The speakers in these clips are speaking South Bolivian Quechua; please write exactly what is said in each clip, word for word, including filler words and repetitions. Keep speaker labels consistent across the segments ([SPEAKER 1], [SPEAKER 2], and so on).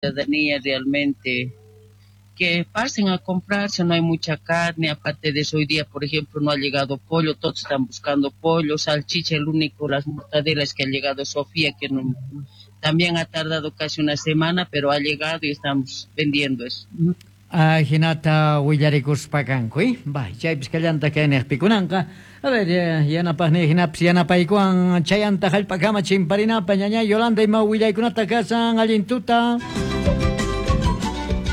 [SPEAKER 1] Ciudadanía realmente que pasen a comprarse, no hay mucha carne, aparte de eso hoy día, por ejemplo, no ha llegado pollo, todos están buscando pollo, salchicha, el único, las mortadelas que ha llegado Sofía, que no, también ha tardado casi una semana, pero ha llegado y estamos vendiendo eso.
[SPEAKER 2] Ajinata willarikuspa kanku, eh? Bay, chaypis kallanta kayniqpi kunanqa. A ver, yanapaqni hinapis yanapaykuwan chayanta hallp'akama chimparinapa ñañay Yolanda ima willaykunata kasan allin tuta.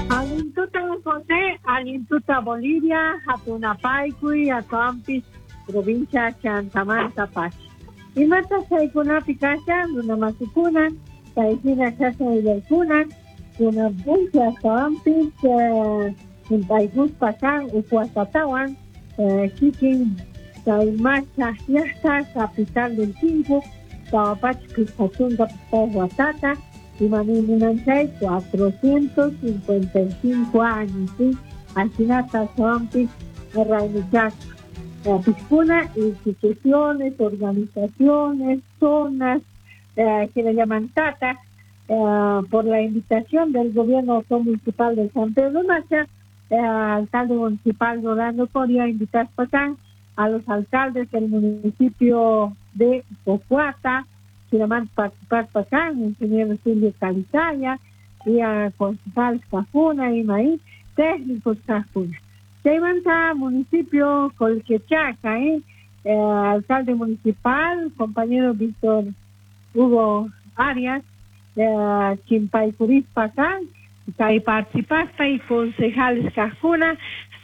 [SPEAKER 3] Allin tuta José, allin tuta Bolivia, hatunapaykuy, atuampis provincia Chantamanta Pacha. Imata chaykunapi kashan, runamasikunan, chaykuna kashan willaykunan, kunan puncha astawanpis chimpaykuspa kan ukuasatawan kikin chay macha llaqta capital del Tinku, tawa pachak pichqa chunka pichqayuq watata, imaniymunan chay cuatrocientos cincuenta y cinco años, ¿sí? Ajinata astawanpis raymichaspa pichkuna instituciones, organizaciones, zonas, eh, que le llaman tata, eh, por la invitación del gobierno municipal de San Pedro Macha, eh, alcalde municipal Rolando Coria, invitar a los alcaldes del municipio de Pocuata, Quiraman participar Pacán, ingeniero Silvio Calizaya, y a concejales Cajuna y Maí, técnicos Cajuna. Chaymanta municipio Colquechaca, ¿eh? Eh, alcalde municipal, compañero Víctor Hugo Arias, eh, Chimpaycuris Pacán, y participasta y concejales Cajuna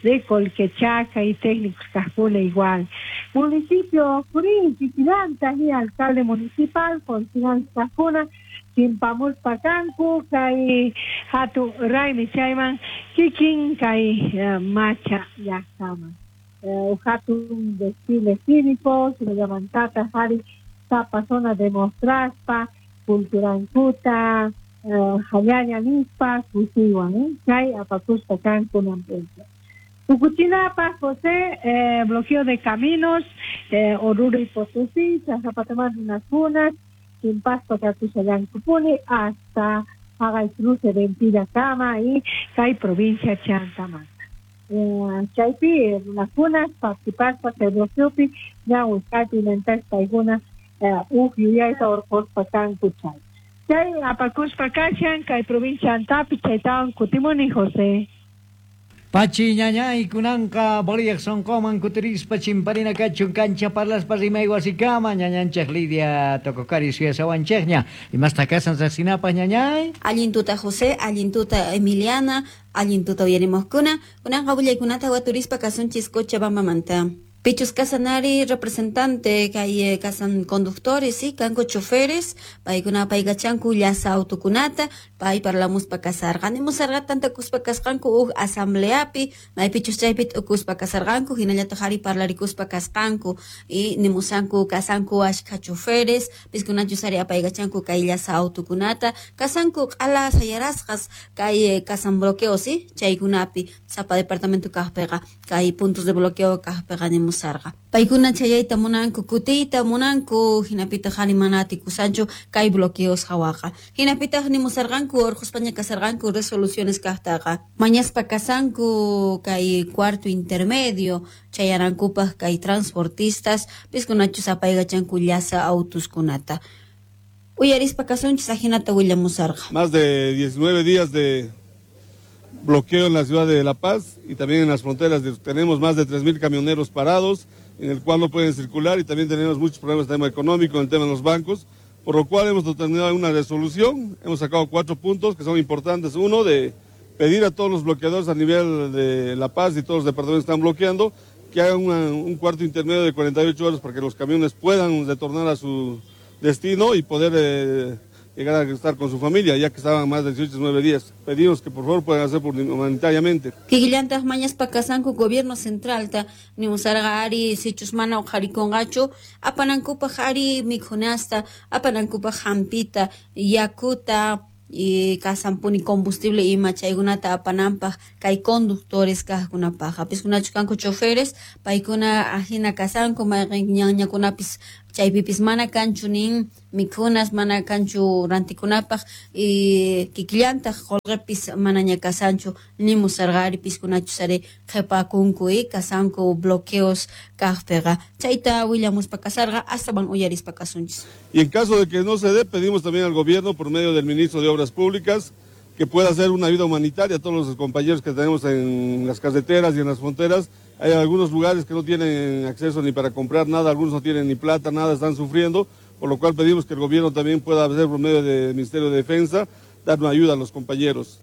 [SPEAKER 3] de Colquechaca y técnicos Cajuna igual. Municipio Curín, Chiquilanta, y alcalde municipal, concejales Cajuna, Chimpamul Pacancu, Kai Hatu Raimi Chayman, Kikin, Kai eh, Macha Yacaman. Eh, Hatun desfile cívico, se le llaman Tata, Jari, Tapa zona de Mostraspa, Culturancuta, Hayaya Nispa, Kusiwan, eh? Chay Apacusta Cancu Nampucha. Ucuchinapa, José, eh, bloqueo de caminos, eh, Oruro y Potosí, Chazapatamán, unas unas, Chimpasto, Catuchayancupuni, hasta Haga el cruce de Empiracama y Cay, provincia Chantamanta. Eh, Chaypi, unas unas, Partipaspa, Cedrosupi, Ñahuiscapi, Nentaspa, Iguna, Uj, Yuyayta, Orcospa, Cancuchay. Chay, Apacuspa, Cachan, Cay, provincia Antapi, Chaytawan, Cutimuni, José.
[SPEAKER 2] Pachi ñañay kunanqa Bolivia sonqoman kutirispa chimparina kachun kancha parlaspa rimay wasikama ñañanchej Lidia Tococari suyasawanchejña imasta kasan riqsinapaq ñañay.
[SPEAKER 4] Allin tuta José, allin tuta Emiliana, allin tuta uyarimojkuna, kunanqa willaykunata waturispa kasunchis Cochabambamanta. Pichus kasanari representante kay kasan conductores, sí, kanku choferes, paykuna paykachanku llasa autokunata, pay parlamuspa kasarqa, nimusarqa tantakuspa kasqanku uj asambleapi, maypichus chaypi t'ukuspa kasarqanku, hinallataq ari parlarikuspa kasqanku, y nimusanku kasanku ashkha choferes, piskunachus ari apaykachanku kay llasa autokunata, kasanku q'ala sayarasqas kay kasan bloqueo, sí, chaykunapi, sapa departamento kaqpiqa, kay puntos de bloqueo kaqpiqa nimusarqa. Paykuna chayayta munanku, kutiyta munanku, hinapitaq ari mana atikusanchu kay bloqueos hawaqa. Hinapitaq nimusarqanku urquspaña kasarqanku resoluciones kaqtaqa. Mañaspa kasanku kay cuarto intermedio chayanankupaq kay transportistas, piskunachus apaykachanku llasa autuskunata. Uyarispa kasunchis ajinata willamusarqa.
[SPEAKER 5] Más de diecinueve días de bloqueo en la ciudad de La Paz y también en las fronteras. Tenemos más de tres mil camioneros parados, en el cual no pueden circular, y también tenemos muchos problemas en el tema económico, en el tema de los bancos, por lo cual hemos determinado una resolución. Hemos sacado cuatro puntos que son importantes. Uno, de pedir a todos los bloqueadores a nivel de La Paz y todos los departamentos que están bloqueando, que hagan una, un cuarto intermedio de cuarenta y ocho horas para que los camiones puedan retornar a su destino y poder eh, llegar a estar con su familia, ya que estaban más de dieciocho, nueve días. Pedimos que por favor puedan hacer por humanitariamente.
[SPEAKER 4] Kikillantaq mañaspa kasanku gobierno centralta nimusarqa ari sichus mana uqharikunqachu apanankupaq ari mikhunasta, apanankupaq hampita, yakuta, y kasanpuni combustible ima chaykunata apananpaq kay conductores kaqkunapaq. Piskunachu kanku choferes, paykuna ajina kasanku mayqin ñanñakunapis Chaypipis mana kanchu nin mikhunas, mana kanchu rantikunapaj y kikillantaq qolqepis manaña kasanchu nimusarqa ari piskunachus ari qhepakunku y kasanku bloqueos kaqpiqa. Chayta willamuspa kasarqa astawan uyarispa kasunchis.
[SPEAKER 5] Y en caso de que no se dé, pedimos también al gobierno por medio del ministro de Obras Públicas que pueda hacer una ayuda humanitaria a todos los compañeros que tenemos en las carreteras y en las fronteras. Hay algunos lugares que no tienen acceso ni para comprar nada, algunos no tienen ni plata, nada, están sufriendo, por lo cual pedimos que el gobierno también pueda hacer por medio del Ministerio de Defensa, dar una ayuda a los compañeros.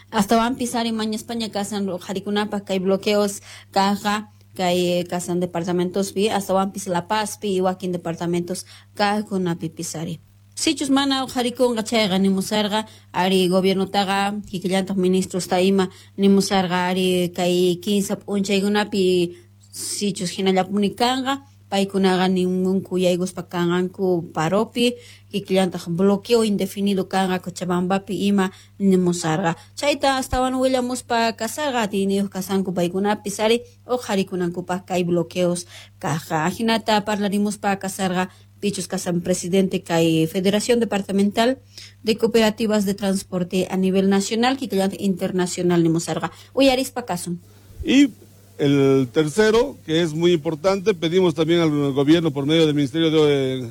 [SPEAKER 4] Hasta van pisar en Maña España kasan harikunapaj kay bloqueos caja kay kasan departamentos pi hasta van pis La Paz pi wakin departamentos kajkunapi pisari. Sichus mana harikunqa chayqa nimusarqa ari gobiernotaqa kikillantaq ministros ta ima nimusarqa ari kay kinsa p'unchaykunapi sichus hinallapuni kanqa paykunaqa ningunku yaykuspa kanqanku paropi kikillantaq bloqueo indefinido kanqa Cochabambapi ima nimusarqa. Chayta astawan willamuspa kasarqa atiyniyuq kasanku paykunapis ari uqharikunankupaq kay bloqueos kajqa. Ajinata parlarimuspa kasarqa Pichus kasan presidente kay Federación Departamental de Cooperativas de Transporte a nivel nacional kikillantaq internacional nimusarqa. Uyarispa kasun.
[SPEAKER 5] Y el tercero, que es muy importante, pedimos también al gobierno por medio del Ministerio de,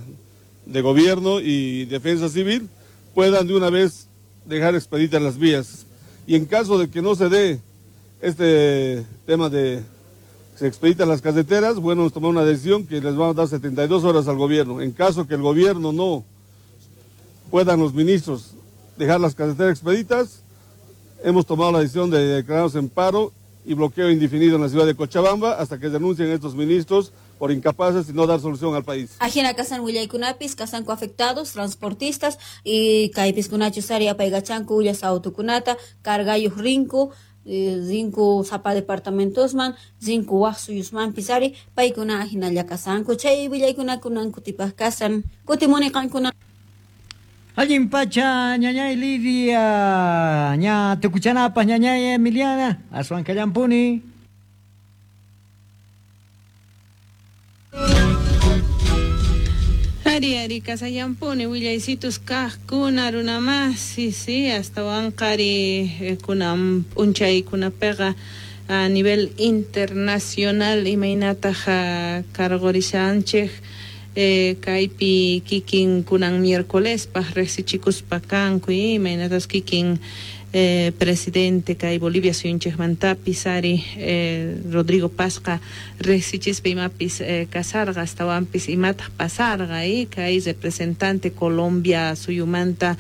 [SPEAKER 5] de Gobierno y Defensa Civil, puedan de una vez dejar expeditas las vías. Y en caso de que no se dé este tema de se expeditan las carreteras, bueno, nos tomó una decisión que les vamos a dar setenta y dos horas al gobierno. En caso que el gobierno no puedan los ministros dejar las carreteras expeditas, hemos tomado la decisión de declararnos en paro y bloqueo indefinido en la ciudad de Cochabamba hasta que denuncien estos ministros por incapaces y no dar solución al país.
[SPEAKER 4] Ajina kasan willaykunapis kasanku afectados, transportistas y kaypiskunachus ari apaykachanku ullas autokunata, cargayuq rinku, rinku sapa departamentosman, rinku waj suyusmanpis ari paykuna ajinalla kasanku. Chay willaykuna kunan kutipaj kasan, kutimuni qankuna.
[SPEAKER 2] Allin pacha, ñañay Lidia, ña tukuchanapas, ñañay Emiliana, aswan kallampuni.
[SPEAKER 6] Ari, ari, kasallampuni, willaysitus kajkuna runamasi, sí, astawan qari kunan p'unchaykunapiqa a nivel internacional imaynataq cargorishanchej. Eh, kaypi kikin kunan miércolespaj riqsichikuspa kanku imaynatas kikin eh, presidente kay Bolivia suyunchikmantapis ari eh, Rodrigo Pazqa riqsichispa imapis eh, kasarqa astawanpis imataq pasarqa y kay representante Colombia suyumanta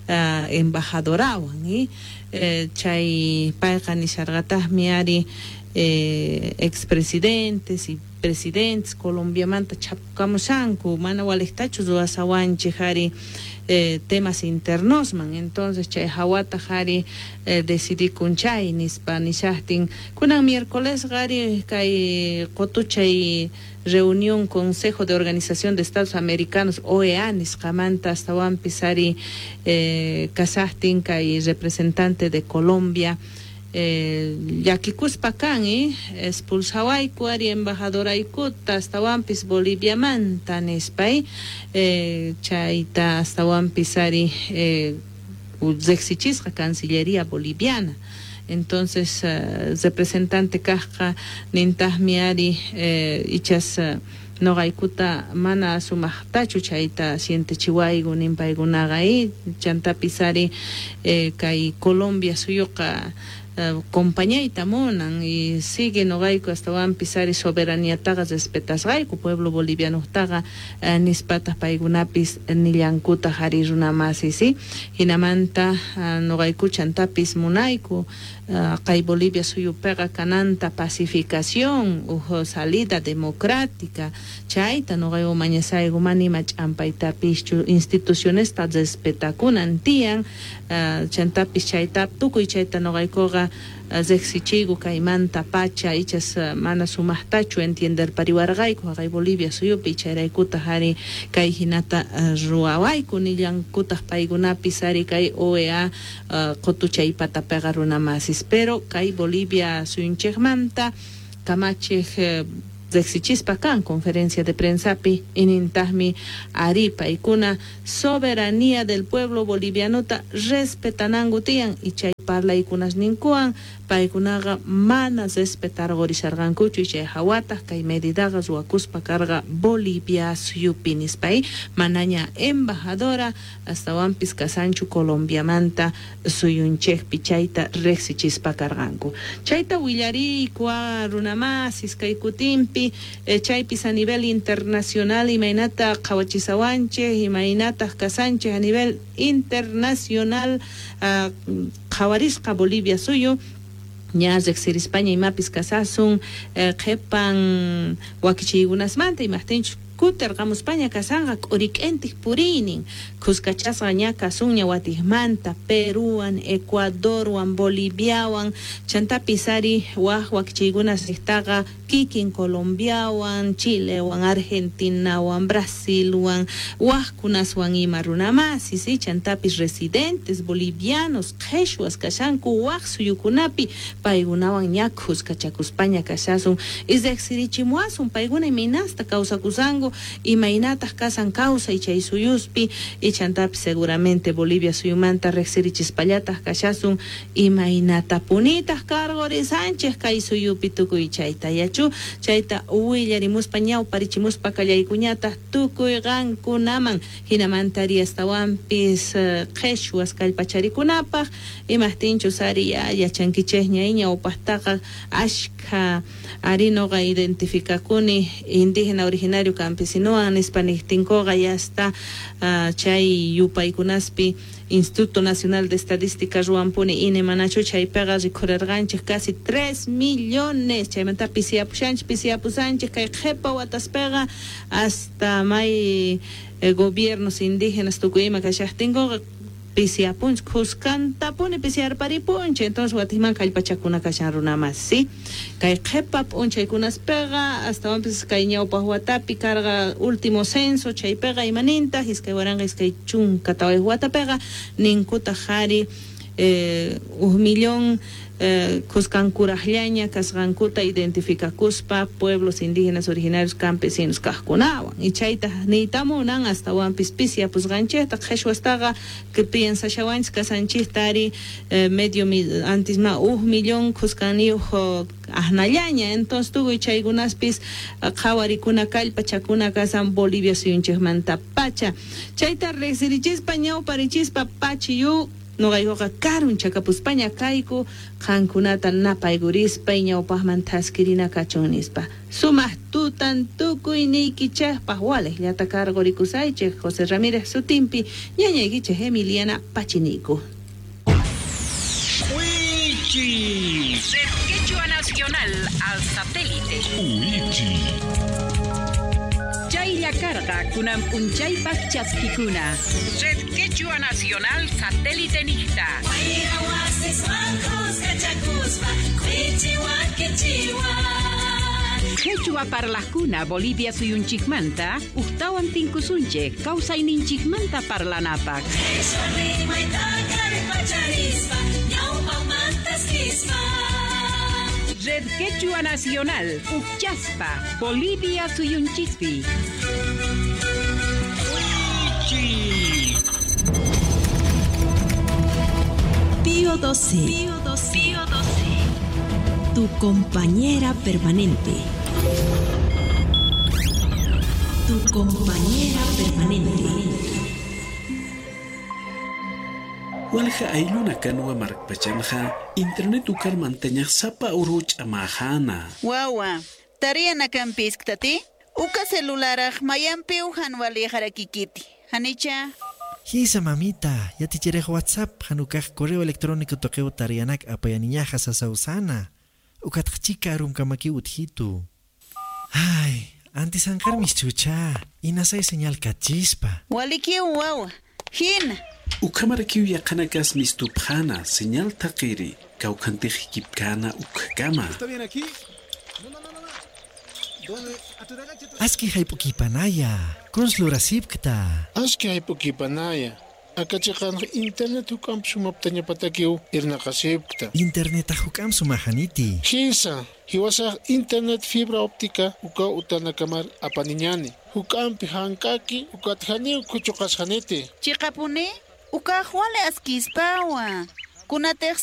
[SPEAKER 6] uh, embajadorawan y eh, chay payqa nisharqataqmi ari eh, expresidentes y presidentes Colombiamanta chapukamushanku mana waliqtachu ruwasawanchik ari eh, temas internosman. Entonces chay hawataq ari eh, decidikun chay nispa nishaqtin kunan miércoles qari kay qutuchay reunión Consejo de Organización de Estados Americanos O E A nisqamanta astawanpis ari eh, kasaqtin kay representante de Colombia Eh, llakikuspa kan eh, expulsawayku ari embajadoraykuta astawanpis Boliviamanta nispa eh, chayta astawanpis ari eh, riqsichisqa Cancillería Boliviana. Entonces uh, representante kajqa nintaqmi ari eh, ichas uh, noqaykuta mana sumaqtachu chayta sientechiwayku ninpaykunaqa eh, chantapis ari eh, kay Colombia suyuqa Uh, compañayta munan y sigue noqayku astawanpis ari soberaniataqa respetasqayku pueblo bolivianotaqa uh, nispataq paykunapis nillankutaq ari runamasi sí hinamanta uh, noqayku chantapis munayku uh, kay Bolivia suyupiqa kananta pacificación uj salida democrática chayta noqayku mañasayku mana ima ch'ampaytapischu institucionesta respetakunan tiyan uh, chantapis chayta tukuy chayta noqaykuqa riqsichiyku kaymanta pacha ichas mana sumaqtachu entienderpariwarqayku haqay Bolivia suyupi chayraykutaq ari kay hinata ruwawayku nillankutaq paykunapis ari kay O E A qutuchaypatapiqa runamasis pero kay Bolivia suyunchikmanta kamachiq Riqsichispa kan conferencia de prensapi inintaqmi ari paykuna soberanía del pueblo bolivianota respetananku tiyan y chay parlaykunasninkuwan paykunaqa mana respetarqurisharqankuchu y chay hawataq kay medidaqa ruwakuspa karqa Bolivia suyupi nispay manaña embajadora astawanpis kasanchu Colombiamanta suyunchikpi chayta riqsichispa karqanku chayta willariyku runamasis kay kutinpi eh, chaypis a nivel internacional imaynata qhawachisawanchik imaynataq kasanchik a nivel internacional uh, qhawarisqa Bolivia suyu ña riqsirispaña imapis kasasun eh, qhipan wakichiykunasmanta imaqtinchus kutirqamuspaña kasanqa k'urik'intik puriynin khuskachasqa ña kasunña watiqmanta Peruwan, Ecuadorwan, Boliviawan chantapis ari waj wakichiykunas riqtaqa kikin Colombiawan, Chilewan, Argentinawan, Brasilwan, wajkunaswan ima runamasis si chantapis residentes bolivianos qheshwas kashanku waj suyukunapi paykunawan ña khuskachakuspaña kashasun y riqsirichimuwasun paykuna imaynasta kawsakusanku imaynataq kasan kawsay chay suyuspi y chantapis seguramente Bolivia suyumanta riqsirichispallataq kashasun imaynatapunitaq karqurisanchik kay suyupi tukuy chayta yachu chayta willarimuspa ñawparichimuspa kallaykuñataq tukuy qankunaman hinamanta ari astawanpis qheshwas kallpacharikunapaq imaqtinchus ari yachankichikña ñawpaqtaqa ashkha ari nuqa identificakuni indígena originario campesinowan nispa niqtinkuqa ya está uh, chay yupaykunaspi Instituto Nacional de Estadística ruwanpuni I N E manachu chaypiqa rikhurarqanchik casi tres millones chaymanta pisiyapushanchik pisiyapusanchik kay qhipa wataspiqa hasta may eh, gobiernos indígenas tukuy ima kashaqtinkuqa pisiyapunchik khuskantapuni pisiyarparipunchik entonces watiqman kallpachakuna kashan runamas si kay qhipa p'unchaykunaspiqa astawanpis kay ñawpaq watapi karqa último censo chaypiqa imanintaq iskay waranqa iskay chunka tawayuq watapiqa ninkutaq qhari eh, huk millón eh, khuskankuraqllaña kasqankuta identificakuspa pueblos indígenas originarios campesinos kaqkunawan y chayta niytamunan astawanpis pisiyapusqanchikta qheshwastaqa que piensashawanchik kasanchikta ari eh, medio antes ma huk millón khuskaniyuq aqnallaña entonces tukuy chaykunaspis qhawarikuna kallpachakuna kasan Bolivia suyunchikmanta pacha chayta riqsirichispa ñawparichispa pachiyu nuqaykuqa karunchakapuspaña kayku qankunata napaykurispa ñawpaqman thaskirina kachun nispa sumaq tutan tukuy niykichikpaq waliqllata karqurikusaychik José Ramírez sutinpi ñañaykichik Emiliana Pachiniku.
[SPEAKER 7] Wichi Red Quechua Nacional al satélite. Wichi Chaylla karqa kunan p'unchaypaq chaskikuna. Red Quechua Nacional satélite niqta. Quechua parlaqkuna Bolivia suyunchikmanta uqtawan tinkusunchik kawsayninchikmanta parlanapaq. Red Quechua Nacional, Uchaspa, Bolivia suyunchikpi.
[SPEAKER 8] Pío doce. Pío doce. Pío doce. Tu compañera permanente. Tu compañera permanente.
[SPEAKER 9] Walja ayluna kanwa markpachanja internet ukar manteñaq sapa uruch amajana.
[SPEAKER 10] Wawa, tariana kampisk'tati, uka celularaj mayampi ujan walijarakikiti. Hanicha.
[SPEAKER 11] Hisa mamita, ya ticherej WhatsApp, hanukaj correo electrónico toqueo tarianak apayaniñaja sasausana. Ukatjchika arumkamaki utjitu. Ay, antes ankarmis chucha, inasay señal kachispa.
[SPEAKER 10] Walikiu wawa, hina.
[SPEAKER 9] Ukamarakiu yaqanakas mistupjana, señal taqiri, kawkantijikipkana ukkama.
[SPEAKER 5] ¿Está bien aquí? No, no, no, no. ¿Dónde?
[SPEAKER 11] Aski haypukipanaya, konslurasipkta.
[SPEAKER 12] Aski haypukipanaya, Akachiqan internet hukam sumaptañapatakiw irnaqasipta.
[SPEAKER 11] Internet hukam sumajaniti.
[SPEAKER 12] Hisa, hiwasaq internet fibra óptica uka utanakamar apaniñani. Hukampi hankaki ukatjani kuchuqasjaniti.
[SPEAKER 10] Chiqapuni, ukaq wale askispawa. Kunatej